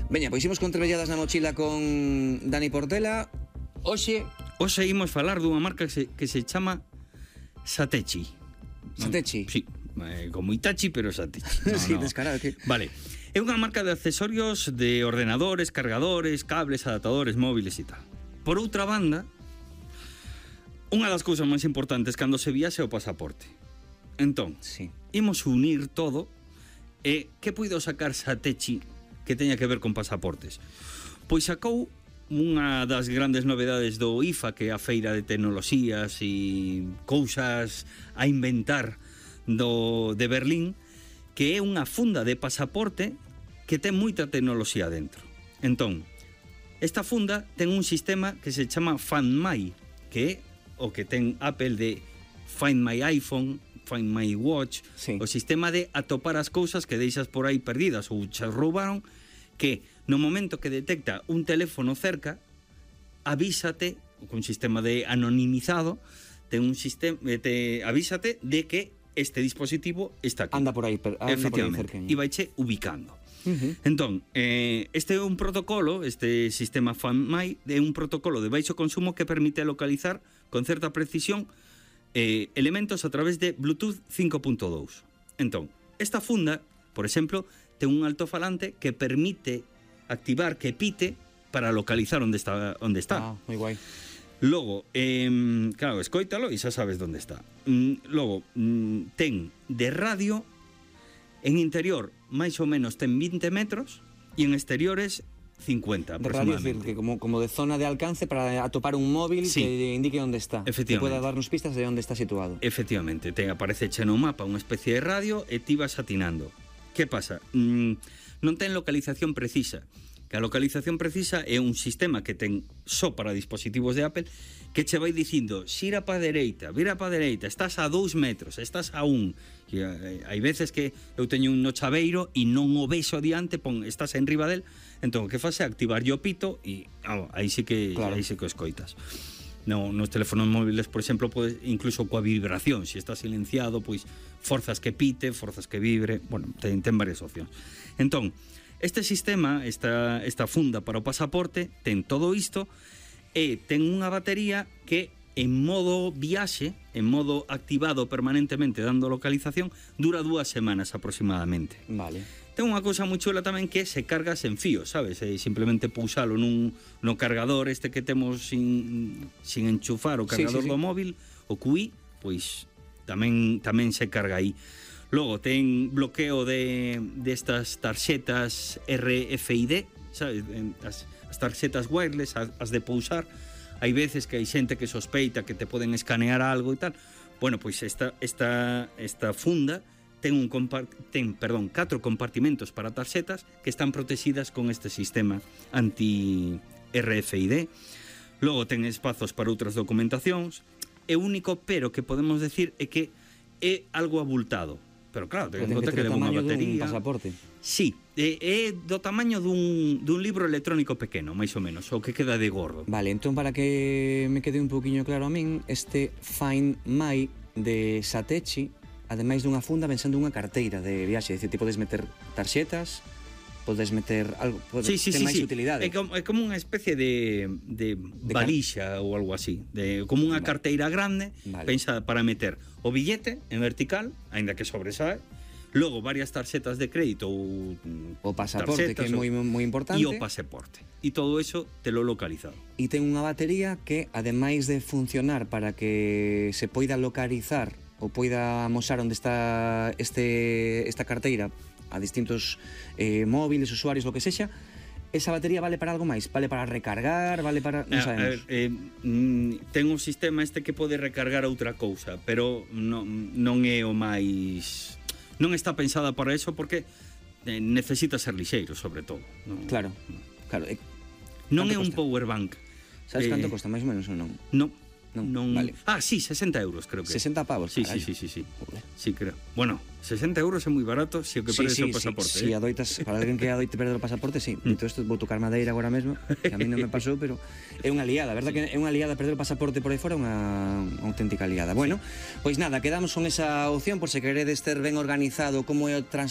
Veña, pois imos con Trebelladas na mochila con Dani Portela. Hoxe imos falar dunha marca que se chama Satechi. Satechi? Sí, como Itachi, pero Satechi. Sí, descarado que... Vale, é unha marca de accesorios de ordenadores, cargadores, cables, adaptadores, móviles e tal. Por outra banda, unha das cousas máis importantes cando se viaxe é o pasaporte. Entón, sí, imos unir todo e que puido sacar Satechi que teña que ver con pasaportes? Pois sacou unha das grandes novedades do IFA, que é a feira de tecnoloxías e cousas a inventar de Berlín, que é unha funda de pasaporte que ten moita tecnoloxía dentro. Entón, esta funda ten un sistema que se chama Find My, que é o que ten Apple de Find My iPhone, Find My Watch, sí, o sistema de atopar as cousas que deixas por aí perdidas ou che roubaron, que no momento que detecta un teléfono cerca, avísate, con sistema de anonimizado, ten un sistema, avísate de que este dispositivo está aquí. Anda por aí efectivamente, e vaiche ubicando. Entón, este é un protocolo, este sistema FindMy, é un protocolo de baixo consumo que permite localizar con certa precisión elementos a través de Bluetooth 5.2. Entón, esta funda, por exemplo, ten un altofalante que permite activar que pite para localizar onde está. Ah, moi guai. Logo, claro, escoítalo e xa sabes onde está. Logo, ten de radio, en interior máis ou menos ten 20 metros e en exteriores 50 aproximadamente. Radio, decir, que como de zona de alcance para atopar un móvil, sí, que indique onde está, que pueda darnos pistas de onde está situado. Efectivamente, aparece no mapa unha especie de radio e ti vas atinando. Que pasa? Non ten localización precisa. Que a localización precisa é un sistema que ten só para dispositivos de Apple, que che vai dicindo xira pa dereita, vira pa dereita, estás a 2 metros, estás a 1. E hai veces que eu teño un no chaveiro e non o vexo diante, estás en riba del, entón o que faz é activar o pito e aí sí que escoitas. No, nos teléfonos móviles, por exemplo, podes, incluso coa vibración, se está silenciado, pois forzas que pite, forzas que vibre, bueno, ten varias opcións. Entón, este sistema, esta funda para o pasaporte, ten todo isto e ten unha batería que en modo viaxe, en modo activado permanentemente dando localización, dura 2 semanas aproximadamente. Vale. Ten unha cousa moi chula tamén que se carga sen fío, sabes? Simplemente pousalo no cargador este que temos sin enchufar o cargador do móvil, o QI, pois tamén se carga aí. Logo, ten bloqueo de estas tarxetas RFID, sabes? As tarxetas wireless, as de pousar. Hai veces que hai xente que sospeita que te poden escanear algo e tal. Bueno, pois esta funda ten 4 compartimentos para tarxetas que están protegidas con este sistema anti-RFID. Logo ten espazos para outras documentacións. E o único pero que podemos decir é que é algo abultado. Pero claro, ten en conta que leva unha batería. Pasaporte. Sí, é do tamaño dun libro electrónico pequeno, máis ou menos, o que queda de gordo. Vale, entón para que me quede un poquinho claro a min, este Find My de Satechi, ademais dunha funda, ven sendo unha carteira de viaxe, é dicir, ti podes meter tarxetas, podes meter algo, ten máis utilidade. É como unha especie de valixa ou algo así, como unha carteira grande, pensada para meter o billete en vertical, aínda que sobresae, logo varias tarxetas de crédito ou o pasaporte, que é moi importante, e o pasaporte. E todo eso te lo localizado. E ten unha batería que, ademais de funcionar para que se poida localizar ou poida amosar onde está esta carteira a distintos móviles, usuarios, lo que sexa, esa batería vale para algo máis? Vale para recargar? Vale para... non sabemos. Ten un sistema que pode recargar outra cousa, pero non é o máis... Non está pensada para eso porque necesita ser lixeiro, sobre todo. Claro. Non é un power bank. Sabes canto costa, máis ou menos, ou non? Non. Vale. Sí, 60 euros creo que. 60 pavos, sí. Sí, creo. Bueno, 60 euros é moi barato se o que perdes o pasaporte. Sí, adoitas, para alguén que adoite perder o pasaporte, sí. Dito isto, vou tocar madeira agora mesmo, que a mí non me pasou, pero é unha liada, a verdad que é unha liada perder o pasaporte por aí fora, unha auténtica liada. Bueno, pois nada, quedamos con esa opción por se queredes ter ben organizado como é o